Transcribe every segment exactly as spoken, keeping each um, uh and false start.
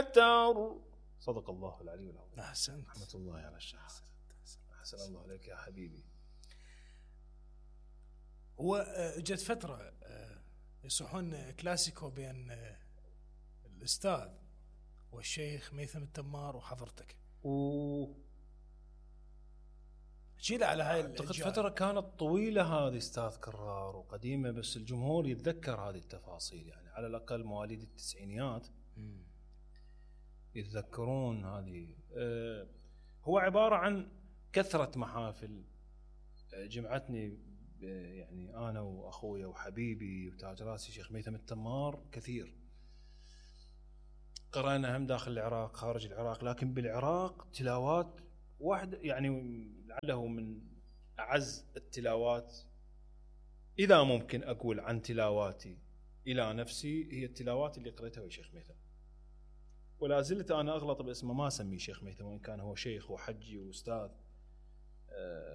أكثر. صدق الله العلي العظيم. أحسنت. رحمة الله على الشهادة. أحسن الله عليك يا حبيبي. هو جت فترة يصحون كلاسيكو بين الأستاذ والشيخ ميثم التمار وحضرتك. و شيله على هاي أعتقد فترة كانت طويلة هذه أستاذ كرار وقديمة، بس الجمهور يتذكر هذه التفاصيل، يعني على الأقل مواليد التسعينيات م. يتذكرون هذه. أه هو عبارة عن كثرة محافل جمعتني، يعني أنا وأخويا وحبيبي وتاج راسي شيخ ميثم التمار كثير. قرأنا هم داخل العراق خارج العراق، لكن بالعراق تلاوات واحدة، يعني لعله من أعز التلاوات إذا ممكن أقول عن تلاواتي إلى نفسي هي التلاوات اللي قرأتها ويا شيخ ميثم. ولا زلت أنا أغلط باسمه، ما أسميه شيخ ميثم وإن كان هو شيخ وحجي وأستاذ.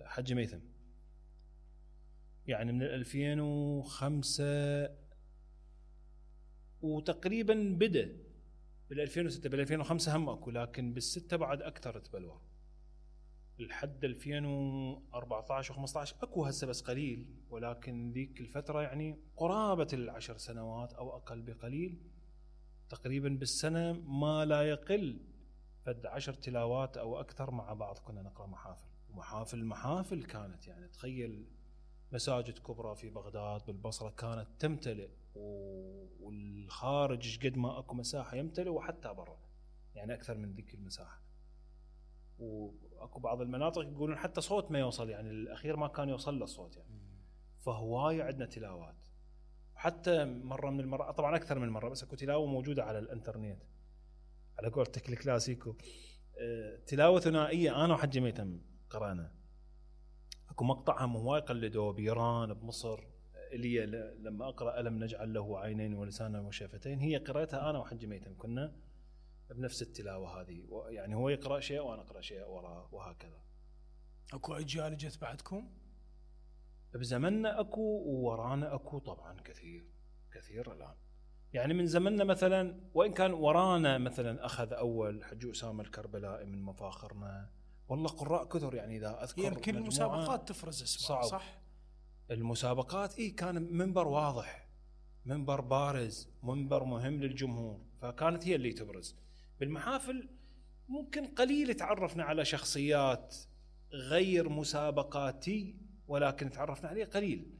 حج ميثم يعني من ألفين وخمسة وتقريبا بدأ بال ألفين وستة. بال ألفين وخمسة هم أكو، لكن بالستة بعد أكثر تبلور لحد ألفين وأربعة عشر وخمسة عشر أكو هسه بس قليل، ولكن ذيك الفترة يعني قرابة العشر سنوات أو أقل بقليل، تقريبا بالسنة ما لا يقل فد عشر تلاوات أو أكثر مع بعض كنا نقرأ محافل. ومحافل محافل كانت، يعني تخيل مساجد كبرى في بغداد بالبصرة كانت تمتلئ، والخارج قد ما أكو مساحة يمتلئ، وحتى برا يعني أكثر من ذيك المساحة. وأكو بعض المناطق يقولون حتى صوت ما يوصل، يعني الأخير ما كان يوصل له الصوت يعني. فهواية عندنا تلاوات. حتى مرة من المرات، طبعا أكثر من مرة، بس أكو تلاوة موجودة على الإنترنت على قولتك الكلاسيكو، تلاوة ثنائية أنا وحج ميثم قرأنا. أكو مقطع هم هواي قلدوه بإيران بمصر، اللي لما أقرأ ألم نجعل له عينين ولسانا وشفتين، هي قرأتها أنا وحج ميثم، كنا بنفس التلاوة هذه، يعني هو يقرأ شيء وأنا أقرأ شيء وراه وهكذا. أكو أجيال جت بعدكم؟ بزمننا أكو وورانا أكو طبعا كثير كثير الآن. يعني من زمننا مثلا، وإن كان ورانا مثلا أخذ أول حج أسامة الكربلائي من مفاخرنا، والله قراء كثر. يعني إذا أذكر يمكن المسابقات تفرز اسمها صح؟ المسابقات إيه كان منبر واضح، منبر بارز، منبر مهم للجمهور، فكانت هي اللي تبرز. بالمحافل ممكن قليل تعرفنا على شخصيات غير مسابقاتي، ولكن تعرفنا عليه قليل.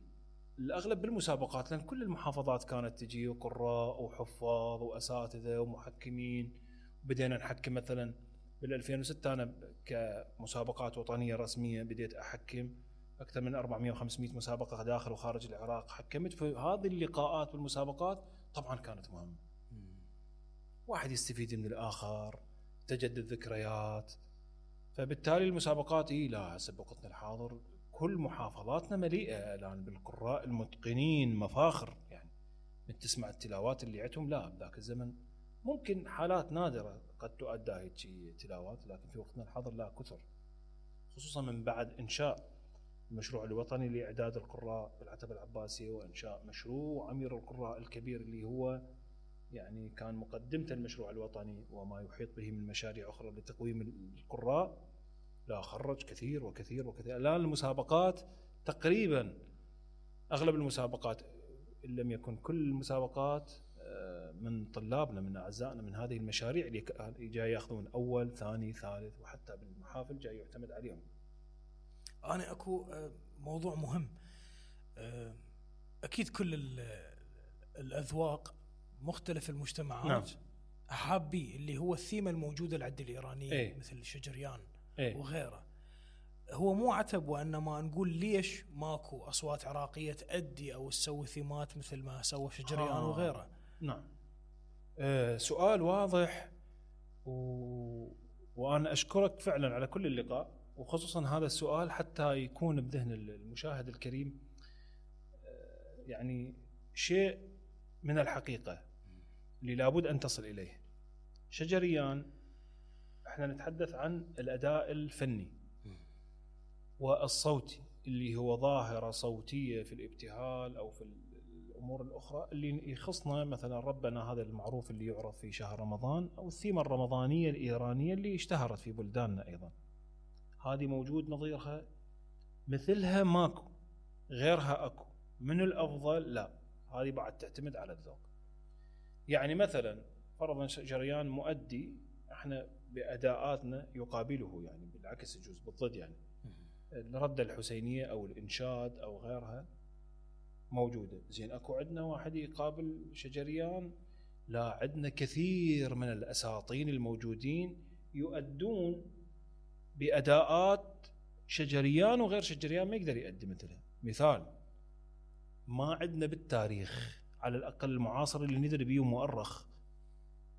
الأغلب بالمسابقات، لأن كل المحافظات كانت تجي قراء وحفاظ وأساتذة ومحكمين. بدينا نحكم مثلا بال ألفين وستة، أنا كمسابقات وطنية رسمية بديت أحكم أكثر من أربعمائة وخمسمائة مسابقة داخل وخارج العراق حكمت. في هذه اللقاءات والمسابقات طبعا كانت مهمة، واحد يستفيد من الآخر، تجدد ذكريات. فبالتالي المسابقات إيه لا سبقتنا الحاضر، كل محافظاتنا مليئة الآن بالقراء المتقنين مفاخر. يعني من تسمع التلاوات اللي عندهم، لا بذاك الزمن ممكن حالات نادرة قد تؤدى هيك تلاوات، لكن في وقتنا الحاضر لا كثر، خصوصا من بعد إنشاء المشروع الوطني لإعداد القراء بالعتبة العباسية، وإنشاء مشروع أمير القراء الكبير اللي هو يعني كان مقدمة المشروع الوطني وما يحيط به من مشاريع أخرى لتقويم القراء. لا خرج كثير وكثير وكثير. الآن المسابقات تقريبا أغلب المسابقات إن لم يكن كل المسابقات من طلابنا من أعزائنا من هذه المشاريع اللي جاي يأخذون أول ثاني ثالث، وحتى بالمحافل جاي يعتمد عليهم. أنا أكو موضوع مهم، أكيد كل الأذواق مختلف المجتمعات نعم. أحابي اللي هو الثيمة الموجودة العد الإيرانية ايه؟ مثل شجريان ايه؟ وغيره. هو مو عتب، وإنما نقول ليش ماكو أصوات عراقية تأدي أو تسوي ثيمات مثل ما سوى شجريان آه. وغيره. نعم. آه سؤال واضح، و... وأنا أشكرك فعلا على كل اللقاء، وخصوصا هذا السؤال حتى يكون بذهن المشاهد الكريم آه يعني شيء من الحقيقة اللي لابد أن تصل إليه. شجريان احنا نتحدث عن الأداء الفني والصوتي اللي هو ظاهرة صوتية في الابتهال أو في الامور الاخرى اللي يخصنا. مثلا ربنا هذا المعروف اللي يعرف في شهر رمضان، او الثيمه الرمضانيه الايرانيه اللي اشتهرت في بلداننا ايضا، هذه موجود نظيرها مثلها ماكو، غيرها اكو. من الافضل؟ لا، هذه بعد تعتمد على الذوق. يعني مثلا فرضا جريان مؤدي احنا باداءاتنا يقابله، يعني بالعكس يجوز بالضد، يعني الردة الحسينية او الانشاد او غيرها موجودة. زين اكو عندنا واحد يقابل شجريان؟ لا، عندنا كثير من الاساطين الموجودين يؤدون باداءات شجريان وغير شجريان ما يقدر يؤدي مثلها. مثال، ما عندنا بالتاريخ على الاقل المعاصر اللي ندري بيه مؤرخ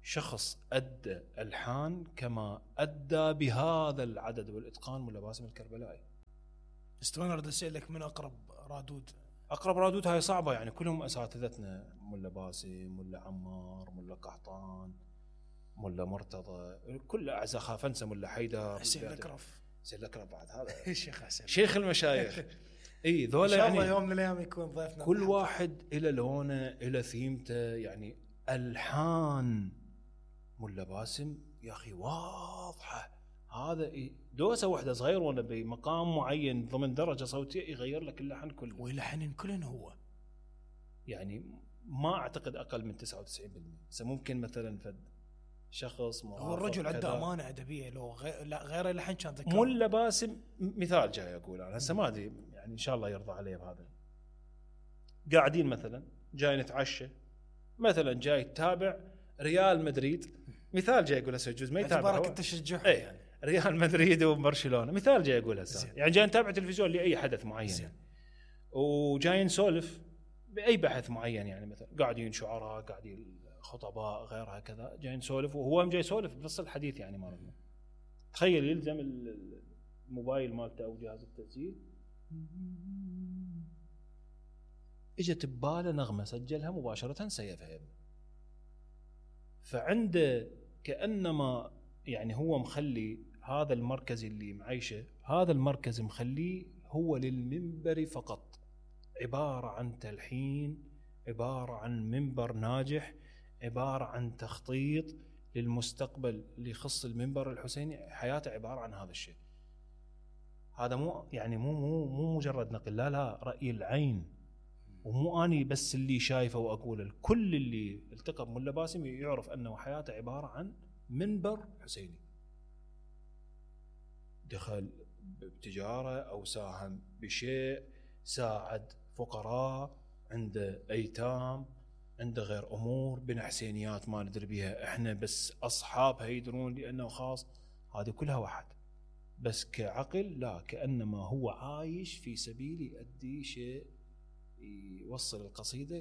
شخص ادى الحان كما ادى بهذا العدد والاتقان ملا باسم الكربلائي. استوى اريد اسالك من اقرب رادود؟ اقرب رادود هاي صعبه، يعني كلهم اساتذتنا، ملا باسم، ملا عمار، ملا قحطان، ملا مرتضى، كل اعزاء خافنسه، ملا حيدر، حسين الاكرف. حسين الاكرف بعد هذا الشيخ حسين، شيخ المشايخ. اي ذولا ان شاء يعني الله يوم من الايام يكون ضيفنا. كل واحد الى لونه الى ثيمته. يعني الحان ملا باسم يا اخي واضحه، هذا دوسه واحده صغير وانا بمقام معين ضمن درجه صوتيه يغير لك اللحن كله، ويلحن كلن هو. يعني ما اعتقد اقل من تسعة وتسعين بالمئة. بس ممكن مثلا فد شخص هو الرجل عنده امانه ادبيه، لو غير لا غير اللحن كان ذكر. ملا باسم مثال جاي اقول انا هسه ما ادري، يعني ان شاء الله يرضى علي بهذا. قاعدين مثلا جاي نتعشى، مثلا جاي تتابع ريال مدريد، مثال جاي اقول هسه يجوز ما يتابع، اعتبارك انت تشجعه اي يعني ريال مدريد وبرشلونه، مثال جاي اقول هسه، يعني جاي نتابع تلفزيون لاي حدث معين يعني. وجاي نسولف باي بحث معين، يعني مثلا قاعدين شعراء، قاعدين خطباء، غيرها كذا، جاي نسولف وهو جاي يسولف بنص الحديث يعني مالنا. تخيل يلزم الموبايل مالته او جهاز التسجيل، اجت بباله نغمه سجلها مباشره سيفها. فعنده كانما يعني هو مخلي هذا المركز اللي معيشه، هذا المركز مخليه هو للمنبر فقط، عباره عن تلحين، عباره عن منبر ناجح، عباره عن تخطيط للمستقبل اللي يخص المنبر الحسيني. حياته عباره عن هذا الشيء. هذا مو يعني مو مو مو مجرد نقل، لا لا، راي العين. ومو اني بس اللي شايفه واقوله، الكل اللي التقى بملا باسم يعرف انه حياته عباره عن منبر حسيني. دخل بتجاره او ساهم بشيء، ساعد فقراء، عنده ايتام، عنده غير امور، بنى حسينيات ما ندري بيها احنا بس اصحابها يدرون لانه خاص. هذه كلها واحد، بس كعقل لا، كانما هو عايش في سبيل يؤدي شيء يوصل القصيده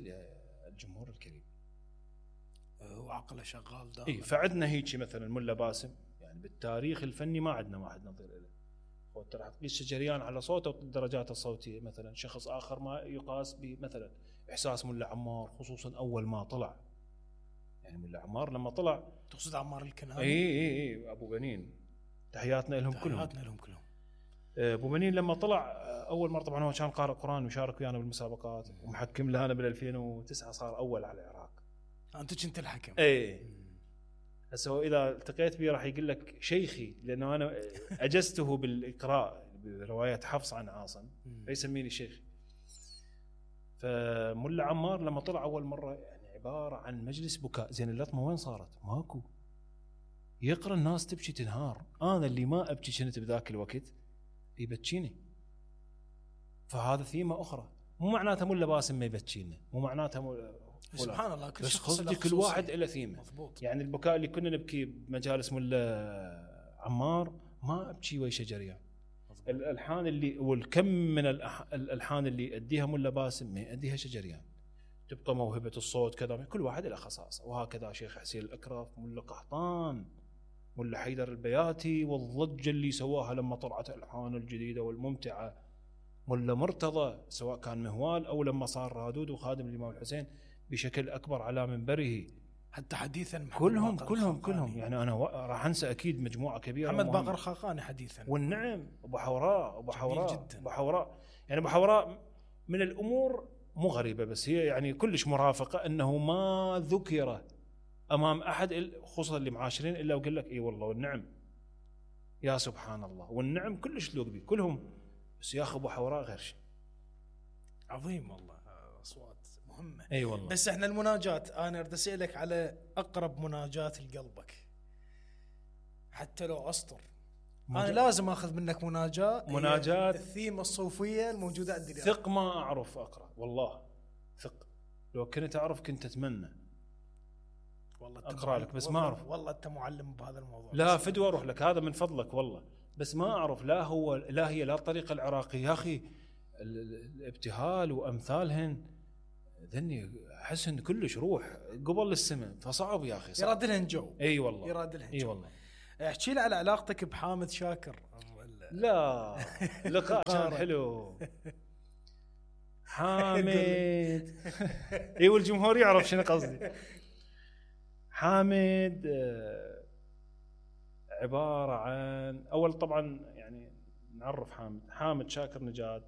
للجمهور الكريم، وعقله شغال دائما. اي فعندنا هيك مثلا ملا باسم، يعني بالتاريخ الفني ما عندنا واحد نظير له. هو ترى تقيس شجريان على صوته والدرجات الصوتيه، مثلا شخص اخر ما يقاس بمثلا احساس ملا عمار، خصوصا اول ما طلع. يعني ملا عمار لما طلع، تقصد عمار الكناني؟ اي اي اي ابو بنين، تحياتنا لهم كلهم، تحياتنا لهم كلهم. ابو بنين لما طلع اول مره، طبعا هو كان قارئ قران ويشارك ويانا بالمسابقات ومحكم لنا بال ألفين وتسعة، صار اول على العراق. انت كنت الحكم؟ اي هسه هو اذا التقيت به راح يقول لك شيخي، لانه انا اجزته بالاقراء بروايات حفص عن عاصم فيسميني شيخ. فملا عمار لما طلع اول مره يعني عباره عن مجلس بكاء. زين اللطمه وين صارت؟ ماكو، يقرا الناس تبكي تنهار، انا اللي ما ابكي كنت بذاك الوقت يبكيني. فهذا ثيمه اخرى، مو معناتها ملا باسم ما يبكينا، مو معناتها مو... سبحان الله، كل بس شخص قصدي كل واحد له ثيمه. مضبوط. يعني البكاء اللي كنا نبكي بمجالس ملا عمار ما ابكي ويا شجريان. الالحان اللي والكم من الالحان اللي يؤديها ملا باسم ما يؤديها شجريان. تبقى موهبه الصوت كذا، كل واحد له خصائصه. وهكذا شيخ حسين الاكرف، ملا قحطان، ملا حيدر البياتي، والضجه اللي سواها لما طلعت الحان الجديده والممتعه، ملا مرتضى سواء كان مهوال او لما صار رادود وخادم الامام الحسين بشكل اكبر على منبره. حتى حديثا كلهم كلهم كلهم يعني انا راح انسى اكيد مجموعه كبيره. محمد باقر خاقاني حديثا، والنعم ابو حوراء ابو حوراء ابو حوراء يعني ابو حوراء من الامور مو غريبه بس هي يعني كلش مرافقه انه ما ذكر امام احد خصوصا اللي معاشرين الا وقال لك اي والله والنعم يا سبحان الله والنعم كلش لوق بي كلهم، بس يا اخي ابو حوراء غير شيء. عظيم والله، اصوات مهمه. اي والله. بس احنا المناجات انا اريد اسالك على اقرب مناجات لقلبك حتى لو اسطر. انا لازم اخذ منك مناجاه مناجات الثيمه الصوفيه الموجوده عندي. ثق ما اعرف اقرا والله، ثق لو كنت اعرف كنت اتمنى والله اقرا لك بس ما اعرف. والله انت معلم بهذا الموضوع. لا فدوى اروح لك هذا من فضلك والله، بس ما اعرف لا هو لا هي لا الطريقه العراقيه يا اخي الابتهال وامثالهن ذني احس ان كلش روح قبل السماء فصعب يا اخي. يراد لهن جو. اي والله يراد لهن جو. اي والله. احكي لي على علاقتك بحامد شاكر. لا لقاء كان حلو. حامد اي والجمهور يعرف شنو قصدي. حامد عبارة عن أول طبعا يعني نعرف حامد. حامد شاكر نجاد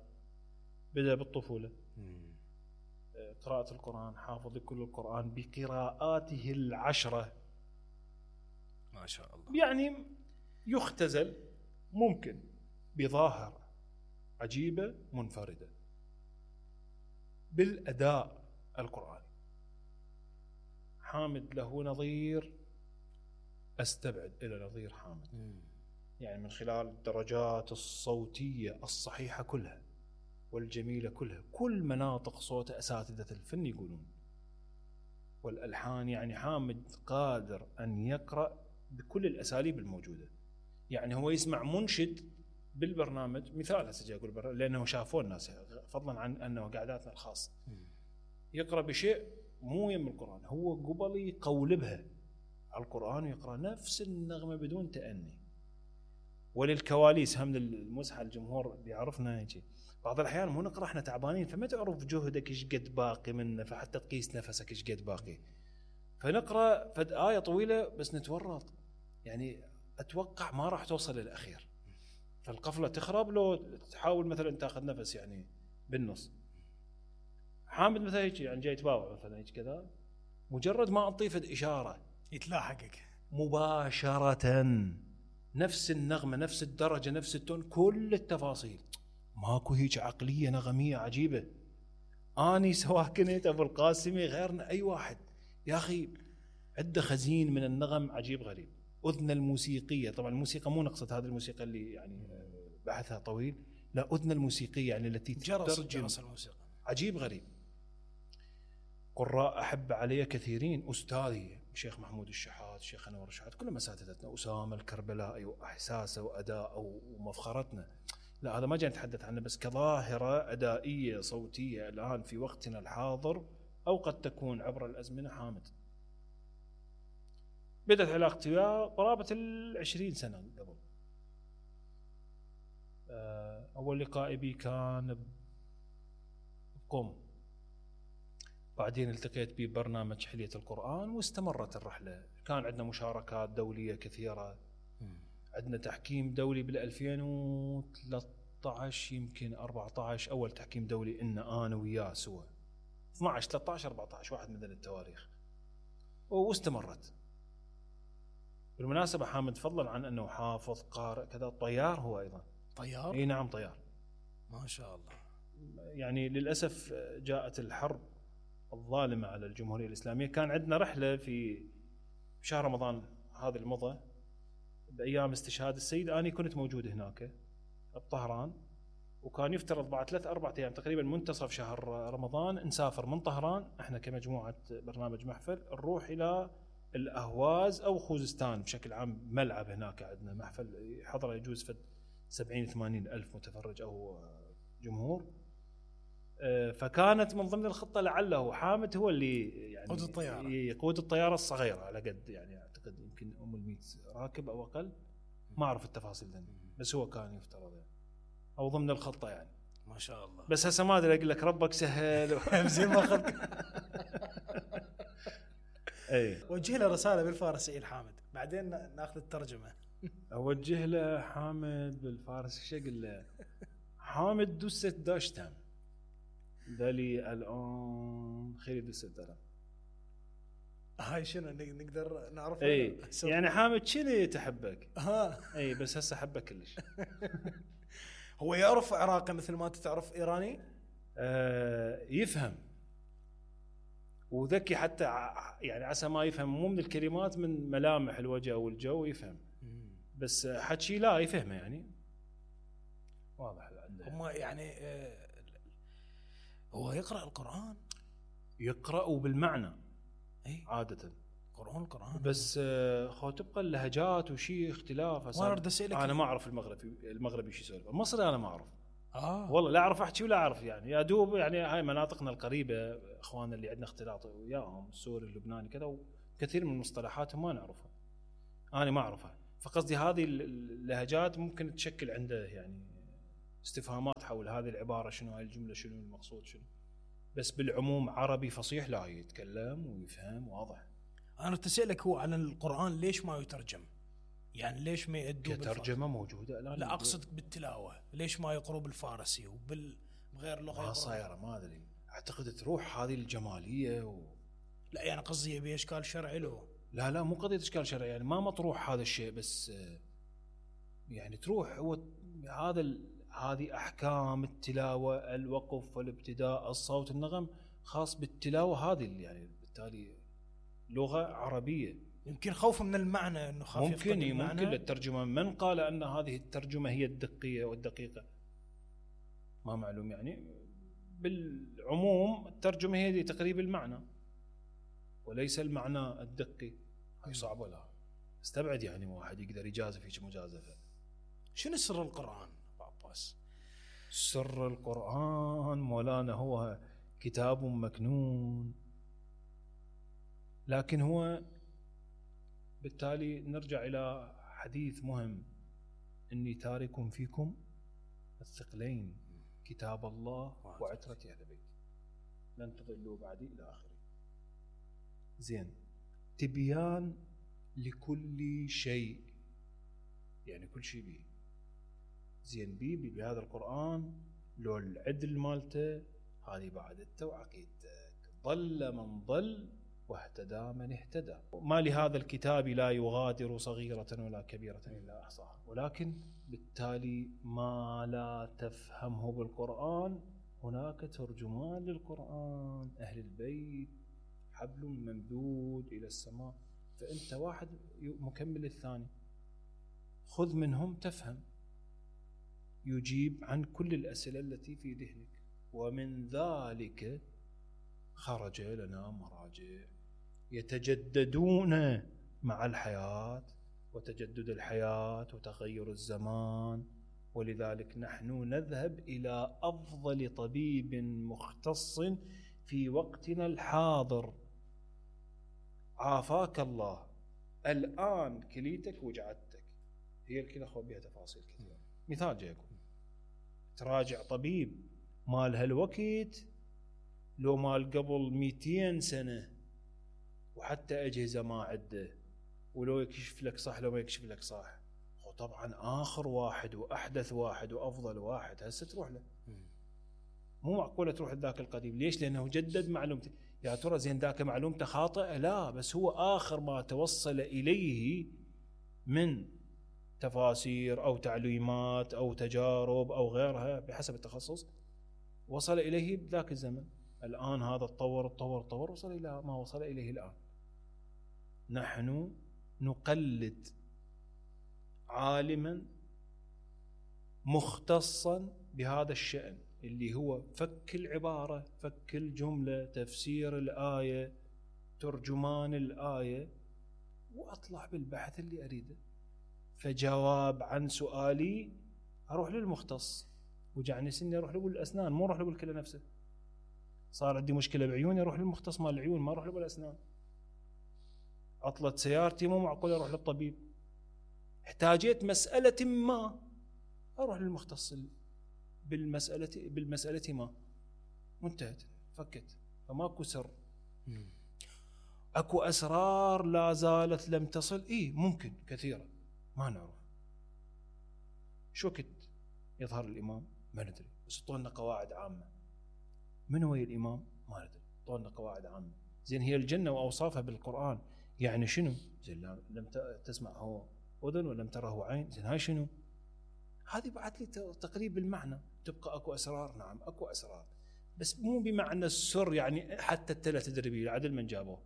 بدأ بالطفولة قراءة القرآن، حافظ كل القرآن بقراءاته العشرة ما شاء الله. يعني يختزل ممكن بظاهرة عجيبة منفردة بالأداء القرآني. حامد له نظير أستبعد إلى نظير حامد م. يعني من خلال الدرجات الصوتية الصحيحة كلها والجميلة كلها، كل مناطق صوته أساتذة الفن يقولون، والألحان. يعني حامد قادر أن يقرأ بكل الأساليب الموجودة. يعني هو يسمع منشد بالبرنامج، مثال هسه أقول لأنه شافوه الناس فضلا عن أنه قعداتنا الخاصة، يقرأ بشيء مو يم القرآن، هو قبل يقولبها على القرآن ويقرأ نفس النغمة بدون تأني. وللكواليس هم المزحة الجمهور بيعرفنا هيك بعض الأحيان مو نقرأ احنا تعبانين فما تعرف جهدك ايش قد باقي منه، فحتى تقيس نفسك ايش قد باقي، فنقرأ فد آية طويلة بس نتورط، يعني أتوقع ما راح توصل للأخير، فالقفلة تخرب لو تحاول مثلا تاخذ نفس يعني بالنص. حامد مثلا هيك يعني جاي يتباوع مثلا هيك كذا، مجرد ما أضيفت إشارة يتلاحقك مباشرة، نفس النغمة نفس الدرجة نفس التون كل التفاصيل، ماكو هيك عقلية نغمية عجيبة. أني سواء كنت أبو القاسمي غيرنا أي واحد يا أخي عنده خزين من النغم عجيب غريب. أذن الموسيقية، طبعا الموسيقى مو نقصد هذه الموسيقى اللي يعني بحثها طويل، لا أذن الموسيقية يعني التي جرس جرس الموسيقى عجيب غريب. قراء أحب علي كثيرين، أستاذي الشيخ محمود الشحات، الشيخ أنور الشحات، كلهم أساتذتنا، أسامة الكربلائي وإحساسه وأداءه ومفخرتنا. لا هذا ما جاي نتحدث عنه، بس كظاهرة أدائية صوتية الآن في وقتنا الحاضر أو قد تكون عبر الأزمنة. حامد بدأت علاقتي وياه قرابة العشرين سنة قبل. أول لقاء بي كان بقوم، بعدين التقيت به ببرنامج حلية القرآن واستمرت الرحلة. كان عندنا مشاركات دولية كثيرة، عندنا تحكيم دولي بالألفين وثلاثة عشر يمكن أربعة عشر، أول تحكيم دولي إن أنا وياه سوا، اثنا عشر ثلاثة عشر أربعة عشر واحد من التواريخ، واستمرت. بالمناسبة حامد فضلا عن أنه حافظ قارئ كذا طيار، هو أيضا طيار. اي نعم طيار ما شاء الله. يعني للأسف جاءت الحرب الظالمة على الجمهورية الإسلامية. كان عندنا رحلة في شهر رمضان هذا المضى بأيام استشهاد السيد، أنا كنت موجود هناك بطهران، وكان يفترض بعد ثلاث أربعة أيام تقريبا منتصف شهر رمضان نسافر من طهران احنا كمجموعة برنامج محفل نروح إلى الأهواز أو خوزستان بشكل عام، ملعب هناك عندنا محفل حضر يجوز فد سبعين ثمانين ألف متفرج أو جمهور. فكانت من ضمن الخطة لعله حامد هو اللي يعني يقود الطيارة يقود الطيارة الصغيرة على قد يعني أعتقد يمكن أم المئة راكب أو أقل، ما أعرف التفاصيل ذي، بس هو كان يفترض يعني أو ضمن الخطة يعني. ما شاء الله. بس هسه ما أدري أقول لك ربك سهل زين ما أخذك. أي وجه له رسالة بالفارسية الحامد، بعدين ناخذ الترجمة. أوجه له حامد بالفارسي شو أقول له؟ حامد دوست داشتم ذلي الان خالد السدرة. هاي شنو نقدر نعرفها؟ اي يعني حامد شنو تحبك؟ ها اي بس هسه حبك كلش. هو يعرف عراقي مثل ما تعرف ايراني؟ آه يفهم وذكي حتى يعني عسى ما يفهم مو من الكلمات من ملامح الوجه او الجو يفهم، بس حكي لا يفهمه يعني واضح عنده. هم يعني آه هو يقرأ القرآن؟ يقرأ وبالمعنى اي عادة قرآن القرآن بس آه خو تبقى اللهجات وشي اختلاف. انا ما اعرف المغربي المغربي شو يسولف، المصري انا ما اعرف اه والله لا اعرف احكي ولا اعرف يعني يا دوب يعني هاي مناطقنا القريبه اخواننا اللي عندنا اختلاط وياهم السوري اللبناني كذا وكثير من المصطلحات ما نعرفها انا ما اعرفها، فقصدي هذه اللهجات ممكن تشكل عنده يعني استفهامات حول هذه العباره شنو هاي الجمله شنو المقصود شنو، بس بالعموم عربي فصيح لا يتكلم ويفهم واضح. انا تسألك هو على القرآن ليش ما يترجم؟ يعني ليش ما يأدوا كترجمه موجوده الان؟ لا اقصد بالتلاوه، ليش ما يقروا بالفارسي وبالغير لغه؟ ما صايره ما ادري، اعتقد تروح هذه الجماليه و... لا يعني قصدي يبي اشكال شرعي له. لا لا مو قضيه اشكال شرعي يعني ما مطروح هذا الشيء، بس يعني تروح هو هذا ال... هذه احكام التلاوه الوقف والابتداء الصوت النغم خاص بالتلاوه هذه يعني بالتالي لغه عربيه. يمكن خوف من المعنى انه خاف يفقد ممكن المعنى. ممكن للترجمه، من قال ان هذه الترجمه هي الدقيه والدقيقه ما معلوم يعني. بالعموم الترجمه هي دي تقريب المعنى وليس المعنى الدقي. هاي صعبه لا استبعد يعني واحد يقدر يجازف هيك مجازفه. شنو سر القرآن عباس؟ سر القرآن مولانا هو كتاب مكنون، لكن هو بالتالي نرجع إلى حديث مهم: إني تارك فيكم الثقلين كتاب الله وعترة أهل بيتي لن تضلوا بعدي إلى آخره. زين، تبيان لكل شيء يعني كل شيء بيه زين بيه بي بهذا القرآن لو العدل مالته هذه بعدته وعقيدتك. ضل من ضل واهتدى من اهتدى. ما لهذا الكتاب لا يغادر صغيرة ولا كبيرة إلا أحصاها. ولكن بالتالي ما لا تفهمه بالقرآن هناك ترجمان للقرآن، أهل البيت حبل ممدود إلى السماء، فأنت واحد مكمل الثاني، خذ منهم تفهم، يجيب عن كل الأسئلة التي في ذهنك. ومن ذلك خرج لنا مراجع يتجددون مع الحياة وتجدد الحياة وتغير الزمان، ولذلك نحن نذهب إلى أفضل طبيب مختص في وقتنا الحاضر. عافاك الله، الآن كليتك وجعتك، هي الكلى خو بها تفاصيل كثيرة. مثال جايكم تراجع طبيب مال هالوقت لو مال قبل مئتين سنة وحتى أجهزة ما عده، ولو يكشف لك صح لو ما يكشف لك صح، طبعا آخر واحد وأحدث واحد وأفضل واحد هسه تروح له. مو معقولة تروح لذاك القديم. ليش؟ لأنه جدد معلومته. يا ترى زين ذاك معلومته خاطئة؟ لا، بس هو آخر ما توصل إليه من تفاسير أو تعليمات أو تجارب أو غيرها بحسب التخصص وصل إليه بذاك الزمن. الآن هذا تطور تطور تطور وصل إلى ما وصل إليه الآن. نحن نقلد عالما مختصا بهذا الشأن اللي هو فك العبارة، فك الجملة، تفسير الآية، ترجمان الآية، وأطلع بالبحث اللي أريده. فجواب عن سؤالي أروح للمختص، وجعني سني أروح له بالأسنان، مو أروح له بالكلى نفسه. صار عندي مشكلة بعيوني أروح للمختص مال العيون، ما أروح له بالأسنان. عطلت سيارتي مو معقول أروح للطبيب. احتاجيت مسألة ما أروح للمختص بالمسألة بالمسألة ما، وانتهت فكت. فماكو سر. اكو اسرار لا زالت لم تصل، ايه ممكن كثيرة ما نعرف. شو وقت يظهر الامام ما ندري، بس طولنا قواعد عامة. من هو الإمام؟ ما ندري. طولنا قواعد عامة. زين هي الجنة وأوصافها بالقرآن يعني شنو؟ زين لم تسمعه أذن ولم تره عين، زين هاي شنو؟ هذه بعد لي تقريب المعنى. تبقى أكو أسرار، نعم أكو أسرار، بس مو بمعنى السر يعني حتى التلا تدري به العدل من جابوه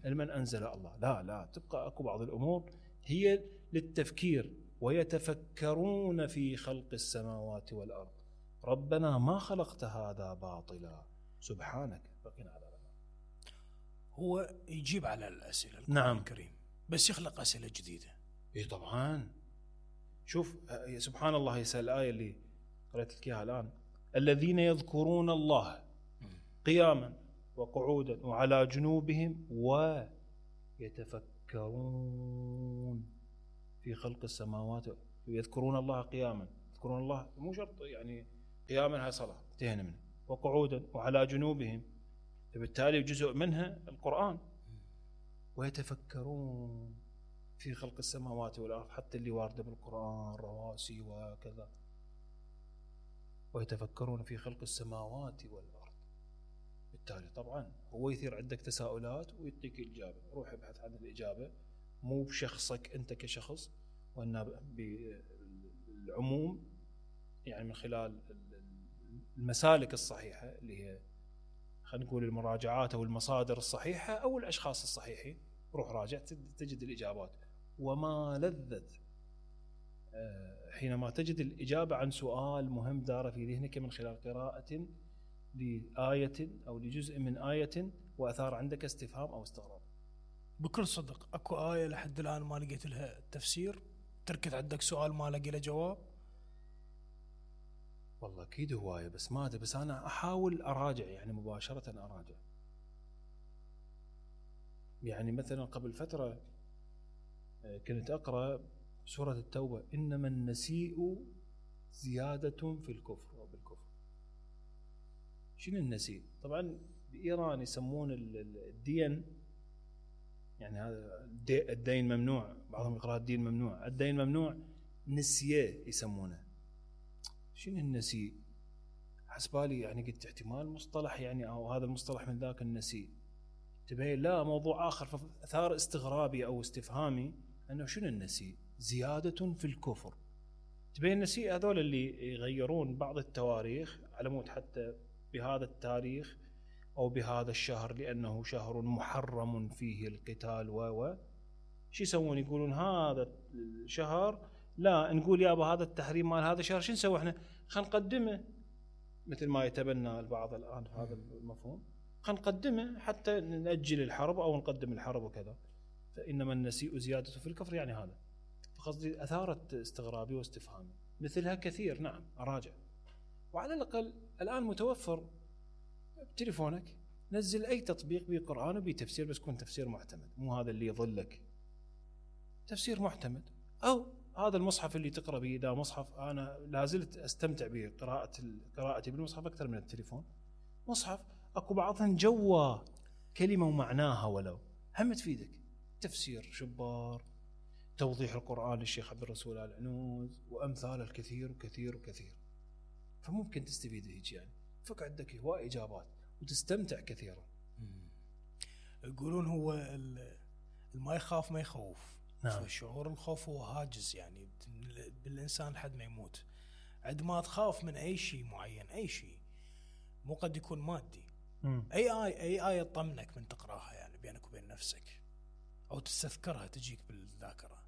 المن أنزل الله، لا لا، تبقى أكو بعض الأمور هي للتفكير. ويتفكرون في خلق السماوات والأرض ربنا ما خلقت هذا باطلا سبحانك فقنا عذاب النار. هو يجيب على الأسئلة نعم الكريم، بس يخلق أسئلة جديدة. اي طبعا. شوف سبحان الله، يسأل الآية اللي قرأت لك إياها الآن: الذين يذكرون الله قياما وقعودا وعلى جنوبهم ويتفكرون في خلق السماوات. يذكرون الله قياما، يذكرون الله مو شرط يعني قياما هاي صلاة انتهينا منه، وقعودا وعلى جنوبهم، فبالتالي جزء منها القرآن. ويتفكرون في خلق السماوات والأرض، حتى اللي وارده بالقرآن رواسي وكذا. ويتفكرون في خلق السماوات والأرض، بالتالي طبعا هو يثير عندك تساؤلات ويعطيك الإجابة. روح ابحث عن الإجابة، مو بشخصك أنت كشخص، وإنما بالعموم، يعني من خلال المسالك الصحيحة اللي هي خلينا نقول المراجعات أو المصادر الصحيحة أو الأشخاص الصحيحين. روح راجع تجد الإجابات. وما لذت حينما تجد الإجابة عن سؤال مهم دار في ذهنك من خلال قراءة لآية أو لجزء من آية وأثار عندك استفهام أو استغراب. بكل صدق أكو آية لحد الآن ما لقيت لها تفسير، تركت عندك سؤال ما لقي له جواب. والله أكيد هواية، بس ما أدري، بس أنا أحاول أراجع يعني مباشرة أراجع. يعني مثلا قبل فترة كنت أقرأ سورة التوبة: إنما النسيء زيادة في الكفر أو بالكفر. شنو النسيء؟ طبعا بإيران يسمون الدين، يعني هذا الدين ممنوع، بعضهم يقرأ الدين ممنوع، الدين ممنوع نسيه يسمونه. شنو النسيء؟ حسبالي يعني قلت احتمال مصطلح يعني، أو هذا المصطلح من ذاك النسيء، تبين لا موضوع آخر. فأثار استغرابي أو استفهامي أنه شنو النسيء؟ زيادة في الكفر. تبين النسيء هذول اللي يغيرون بعض التواريخ على مود حتى بهذا التاريخ أو بهذا الشهر لأنه شهر محرم فيه القتال و شو يسوون؟ يقولون هذا الشهر لا نقول يابا هذا التحريم مال هذا الشهر، شو نسوي احنا؟ خلينا نقدمه، مثل ما يتبنى البعض الآن هذا المفهوم، خلينا نقدمه حتى نأجل الحرب أو نقدم الحرب وكذا. فإنما النسيء زيادة في الكفر يعني هذا. فقصدي أثارت استغرابي واستفهامي، مثلها كثير. نعم أراجع. وعلى الأقل الآن متوفر بتليفونك، نزل أي تطبيق بقرآن وبتفسير، بس يكون تفسير معتمد، مو هذا اللي يضلك، تفسير معتمد. أو هذا المصحف اللي تقرأ به، ده مصحف أنا لازلت أستمتع بقراءة قراءتي بالمصحف أكثر من التليفون. مصحف أكو بعضهم جوا كلمة ومعناها، ولو هم تفيدك. تفسير شبار، توضيح القرآن للشيخ عبد الرسول آل عنوز، وأمثال الكثير وكثير وكثير. فممكن تستفيد هيك يعني، فك عندك هواء إجابات وتستمتع كثيرا. يقولون هو ما يخاف ما يخوف. نعم. شعور الخوف هو هاجس يعني بالإنسان لحد ما يموت. عندما تخاف من أي شيء معين، أي شيء مو قد يكون مادي، مم. أي آية أي آية تطمنك من تقراها يعني بينك وبين نفسك، أو تستذكرها تجيك بالذاكرة.